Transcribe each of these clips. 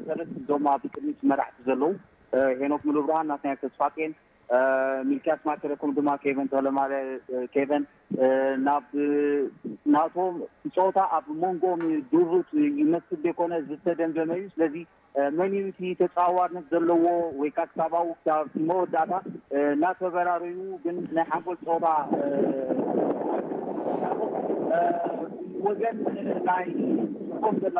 ሰለስተ እዞም ኣብ ቅድሚት መራሕቲ ዘለዉ ሄኖክ ሙሉብርሃን፣ ናትናኤል ተስፋጼን፣ ሚልክያስ ማከረኩም ድማ ኬቨን ተለማለ፣ ኬቨን ናብ ናቶም ጸወታ ኣብ መንጎም ድሩት ይመስል ዘይኮነ ዝተደምደመ እዩ። ስለዚ መን እዩ እቲ ተጻዋርነት ዘለዎ ወይ ከዓ ክሳብ ኣብኡ ክሳብ መወዳእታ እናተበራረዩ ግን ናይ ሓንጎል ጸወታ ወገን ናይ ኮም ዘላ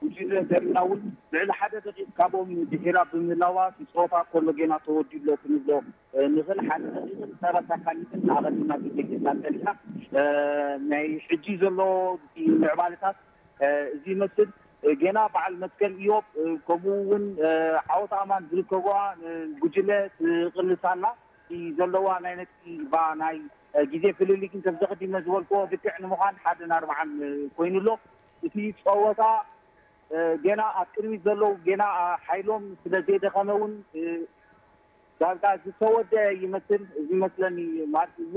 ጉጅለ ዘሪና እውን ልዕሊ ሓደ ደቂቕ ካብኦም ድሒራ ብምህላዋ እቲ ጸወታ ከሎ ጌና ተወዲሎ ክንብሎ ንኽእል። ሓደ ደቂቕን ሰላሳ ካሊትን ኣቐዲማ ግዜ ጌና ጸኒሓ። ናይ ሕጂ ዘሎ ምዕባለታት እዚ ይመስል። ጌና በዓል መትከል ኢዮብ ከምኡ እውን ዓወት ኣማን ዝርከብዋ ጉጅለ ትቕልስ ኣላ። ዘለዋ ናይ ነጥቢ ባ ናይ ግዜ ፍልልይ ግን ከምዚ ቀዲመ ዝበልክዎ ልክዕ ንምዃን ሓደን ኣርባዓን ኮይኑ ኣሎ። እቲ ጸወታ ጌና ኣብ ቅድሚት ዘለዉ ጌና ሓይሎም ስለ ዘይደኸመ እውን ዳርጋ ዝተወደ ይመስል። እዚ ይመስለኒ ማለት እዚ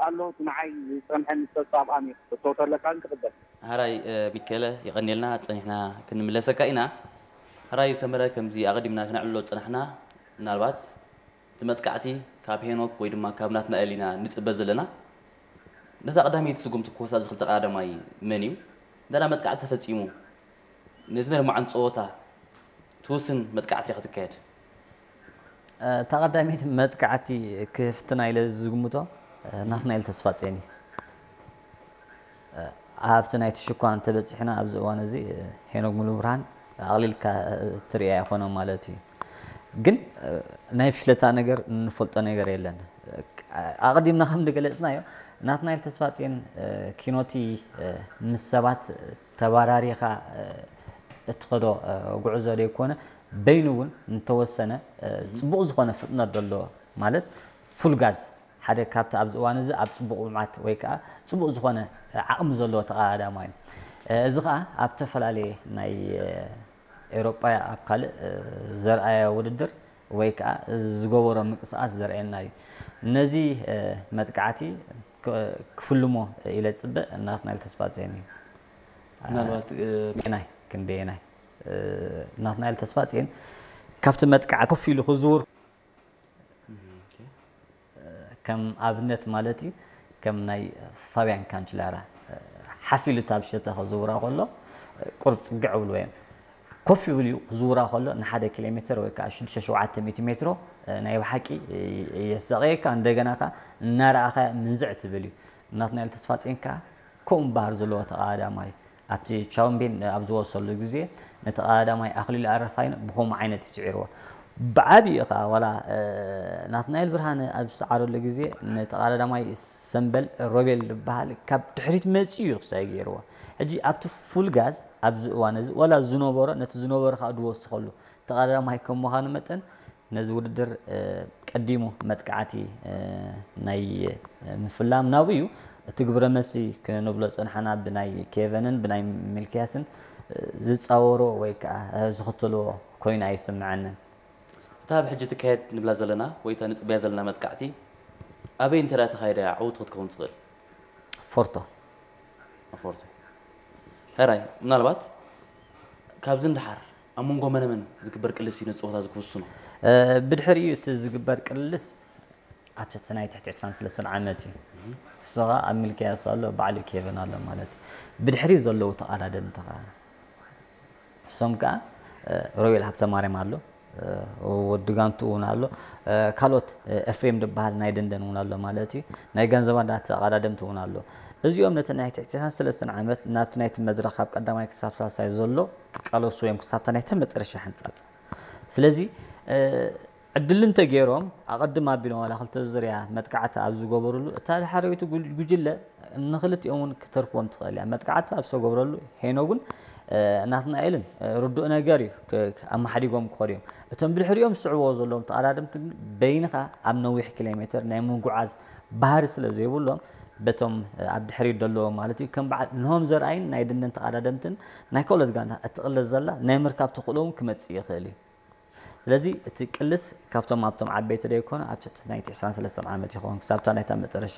ኣሎ እቲ ንዓይ ዝጸንሐኒ ሰብ ኣብኣም እዩ። እቶ ተለካ ግን ትቕበል። ሓራይ ሚከለ የቐንየልና፣ ጸኒሕና ክንምለሰካ ኢና። ሓራይ ሰመረ፣ ከምዚ ኣቐዲምና ክነዕልሎ ዝጸናሕና ምናልባት እቲ መጥቃዕቲ ካብ ሄኖክ ወይ ድማ ካብ ናትናኤል ኢና ንጽበ ዘለና። ነታ ቀዳመይቲ ስጉምቲ ክወስዳ ዝኽእል ተቐዳዳማይ መን እዩ? እንተ መጥቃዕቲ ተፈጺሙ ነዚ ናይ ሎምዓንቲ ጸወታ ትውስን መጥቃዕቲ እያ ክትካየድ። እታ ቀዳመይቲ መጥቃዕቲ ክፍትና ኢለ ዝግምቶ ናትናኤል ተስፋጼን እዩ። ኣብቲ ናይቲ ሽኳ እንተበፂሕና ኣብዚ እዋን እዚ ሄኖክ ሙሉብርሃን ኣቕሊልካ ትሪኦ ኣይኮነን ማለት እዩ። ግን ናይ ብሽለታ ነገር እንፈልጦ ነገር የለን። ኣቐዲምና ከም ዝገለፅናዮ ናትናኤል ተስፋፅዮን ኪኖቲ ምስ ሰባት ተባራሪኻ እትኸዶ ጉዕዞ ዘይኮነ በይኑ እውን እንተወሰነ ፅቡቕ ዝኾነ ፍጥነት ዘለዎ ማለት ፉል ጋዝ ሓደ ካብቲ ኣብዚ እዋን እዚ ኣብ ፅቡቕ ብምዓት ወይ ከዓ ፅቡቕ ዝኾነ ዓቕሚ ዘለዎ ተቐዳዳማይ እዩ። እዚ ከዓ ኣብ ዝተፈላለየ ናይ ኤውሮጳ ኣብ ካልእ ዘርኣዮ ውድድር ወይ ከዓ ዝገበሮ ምንቅስቃስ ዘርእየና እዩ። ነዚ መጥቃዕቲ ክፍልሞ ኢለ ዝፅበ ናትናኤል ተስፋጽዮን እዩ። ምናልባት ናይ ክንደየናይ ናትናኤል ተስፋጽዮን ካብቲ መጥቃዕቲ ኮፍ ኢሉ ክዝውር ከም ኣብነት ማለት እዩ ከም ናይ ፋብያን ካንችላራ ሓፍ ኢሉ እታ ብሸተ ክዝውራ ከሎ ቁርብ ፅግዕ ብልዎ እዮም ኮፍ ይብል እዩ ክዝውራ ከሎ ንሓደ ኪሎ ሜትር ወይ ከዓ ሽዱሽተ ሸውዓተ ሚእቲ ሜትሮ ናይ ብሓቂ የስጠቐየካ እንደገና ከዓ እናረኣኻ ምንዝዕ ትብል እዩ ናትናኤል ተስፋፅዮን ከዓ ከምኡ ባህር ዘለዎ ተቐዳዳማይ ኣብቲ ቻምፒን ኣብ ዝወሰሉ ግዜ ነቲ ቀዳዳማይ ኣኽሊሉ ኣረፋይነ ብኸምኡ ዓይነት እዩ ስዒርዎ። ብዓቢኡ ኸዓ ዋላ ናትናኤል ብርሃነ ኣብ ዝሰዓረሉ ግዜ ነቲ ቀዳዳማይ ሰምበል ሮቤል ዝበሃል ካብ ድሕሪት መፂኡ እዩ ክሳይ ገይርዎ። ሕጂ ኣብቲ ፉል ጋዝ ኣብዚ እዋን እዚ ዋላ ዝነበሮ ነቲ ዝነበሮ ኸዓ ዝወስኸሉ ተቐዳዳማይ ከም ምዃኑ መጠን ነዚ ውድድር ቀዲሙ መጥቃዕቲ ናይ ምፍላም ናብኡ እዩ። እቲ ግብረ መልሲ ክንብሎ ዝጸናሕና ብናይ ኬቨንን ብናይ ሚልክያስን ዝጻወሮ ወይ ከዓ ዝኽተልዎ ኮይኑ ኣይስምዐንን። እታ ኣብ ሕጂ ትካየድ ንብላ ዘለና ወይ እታ ንጽበያ ዘለና መጥቃዕቲ ኣበይ እንተ ደኣ ተኻይዳ እያ ዕውቲ ክትከውን ትኽእል? ፎርቶ። ኣፎርቶ። ሕራይ፣ ምናልባት ካብዚ ንደሓር ኣብ መንጎ መነ መን ዝግበር ቅልስ እዩ ነቲ ጸወታ እዚ ክውስኖ? ብድሕሪኡ እቲ ዝግበር ቅልስ ኣብቲ እቲ ናይ ትሕቲ ዕስራን ሰለስተን ዓመት እዩ። እሱ ኸዓ ኣብ ሚልክያስ ኣሎ፣ ባዕሉ ኬቨን ኣሎ ማለት እዩ። ብድሕሪኡ ዘለዉ ተቐዳደምቲ ኸዓ እሶም ከዓ ሮቤል ሃብተማርያም ኣሎ፣ ወዲ ጋንቱ እውን ኣሎ፣ ካልኦት ኤፍሬም ዝበሃል ናይ ደንደን እውን ኣሎ ማለት እዩ። ናይ ጋንዘባንዳ ተቐዳደምቲ እውን ኣሎ። እዚኦም ነቲ ናይ ትሕቲ ዕስራን ሰለስተን ዓመት ናብቲ ናይቲ መድረኽ ካብ ቀዳማይ ክሳብ ሳልሳይ ዘሎ ክቃለሱ እዮም ክሳብታ ናይታ መጨረሻ ሕንጻጽ። ስለዚ ዕድል እንተገይሮም ኣቐድም ኣቢሎም ዋላ ክልተ ዙርያ መጥቃዕቲ ኣብ ዝገበሩሉ እታ ዳሕረወይቲ ጉጅለ ንኽልቲኦም እውን ክተርፍዎም ትኽእል እያ። መጥቃዕቲ ኣብ ዝተገብረሉ ሄኖግን ናትናኤልን ርዱእ ነገር እዩ ኣመሓዲጎም ክኸዱ እዮም። እቶም ብድሕሪኦም ዝስዕብዎ ዘለዎም ተቐዳደምቲ ግን በይንኻ ኣብ ነዊሕ ኪሎ ሜትር ናይ ምጉዓዝ ባህሪ ስለ ዘይብሎም በቶም ኣብ ድሕሪት ዘለዎም ማለት እዩ ከም በዓል ንሆም ዘርኣይን ናይ ደንደን ተቐዳደምትን ናይ ካልኦት ጋንታ እትቕለስ ዘላ ናይ ምርካብ ተኽእሎ እውን ክመፅእ ይኽእል እዩ። ስለዚ እቲ ቅልስ ካብቶም ኣብቶም ዓበይቲ ደይኮነ ኣብ ትሕቲ ናይቲ ዕስራን ሰለስተን ዓመት ይኸውን ክሳብታ ናይታ መጨረሻ